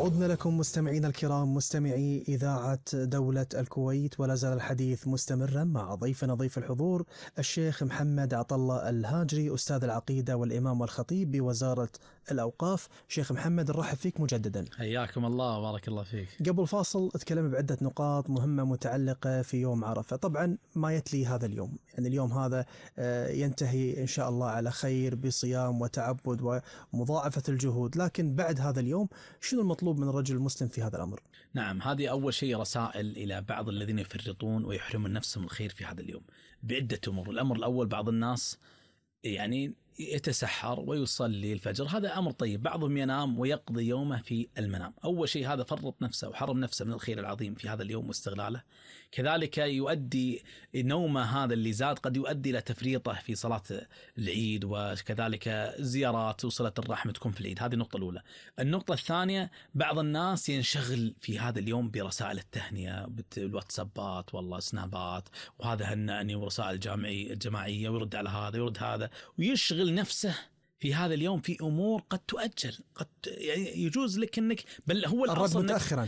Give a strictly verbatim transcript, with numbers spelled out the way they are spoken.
عدنا لكم مستمعينا الكرام، مستمعي إذاعة دولة الكويت، ولا زال الحديث مستمرا مع ضيفنا ضيف الحضور الشيخ محمد عطلة الهاجري، أستاذ العقيدة والإمام والخطيب بوزارة الأوقاف. شيخ محمد نرحب فيك مجددا. حياكم الله وبارك الله فيك. قبل فاصل اتكلم بعدة نقاط مهمة متعلقة في يوم عرفة. طبعا ما يتلي هذا اليوم، يعني اليوم هذا ينتهي إن شاء الله على خير بصيام وتعبد ومضاعفة الجهود، لكن بعد هذا اليوم شنو المطلوب من الرجل المسلم في هذا الأمر؟ نعم، هذه أول شيء رسائل إلى بعض الذين يفرطون ويحرمون نفسهم الخير في هذا اليوم بعدة أمور. الأمر الأول، بعض الناس يعني يتسحر ويصلي الفجر، هذا أمر طيب. بعضهم ينام ويقضي يومه في المنام. أول شيء هذا فرط نفسه وحرم نفسه من الخير العظيم في هذا اليوم واستغلاله. كذلك يؤدي نومه هذا اللي زاد قد يؤدي إلى تفريطه في صلاة العيد، وكذلك زيارات وصلة الرحم تكون في العيد. هذه النقطة الأولى. النقطة الثانية، بعض الناس ينشغل في هذا اليوم برسائل التهنئة بالواتسابات والله سنابات، وهذا هنأني ورسائل الجامعية الجماعية، ويرد على هذا ويرد هذا، ويشغل نفسه في هذا اليوم في أمور قد تؤجل. قد يعني يجوز لك أنك بل هو الرد متأخرا